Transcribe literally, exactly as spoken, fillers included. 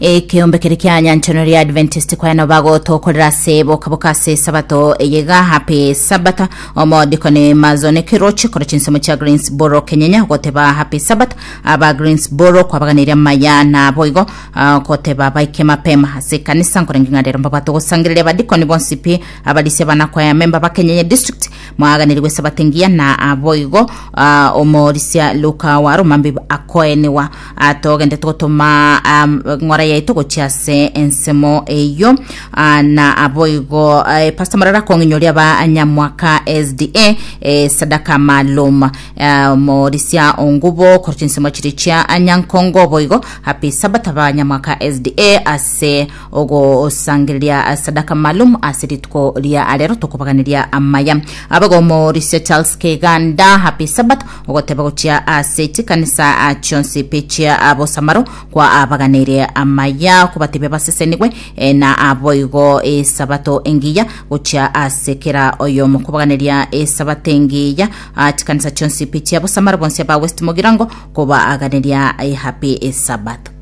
Ekeombe kere kia Nyanchano ria Adventist kwano bagotokorera ase bokaboka ase sabato eyega. Happy Sabbath omodikoni Mazone Kirochi kora chinsemo chia Greensboro Kenyenya, goteba happy Sabbath aba Greensboro, kwabaganiria maya na boigo ah, goteba baike mapema ase kanisa nkorenge ng'a rero mbabwate gosangereria abadikoni bonsi pi, abarisia banakwaya memba ba Kenyenya district, mwaganirigwe sabato engiya na aboigo ah, omorisia Luka wa Romambi akoeniwa. Ah, togende togotoma um, ng'ora yaito gochia ase ensemo eyo. Ah, na aboigo eh, Pastor Marara kong'inyoria ba Nyamwaka S D A eh, sadaka maalum. eh, morisia ongubo korwa chinsemo chiri chia Anyankongo, boigo happy Sabbath ba Nyamwaka S D A ase ogosangereria sadaka maalum ase rituko ria arero, tokobaganiria amaya. Abago morisia Charles Keganda, happy Sabbath ogoteba gochia ase chikanisa ah, chionsi pi chia Abosamaro, kwa abaganire amaya kobatebia basesenigwe eh, na aboigo esabato engiya gochia ase kera oyomo, kobaganiria esabato engiya ah, chikanisa chionsi pi chia Bosamaro, bonsi aba West Mogirango, kobaaganeria eh, happy Sabbath.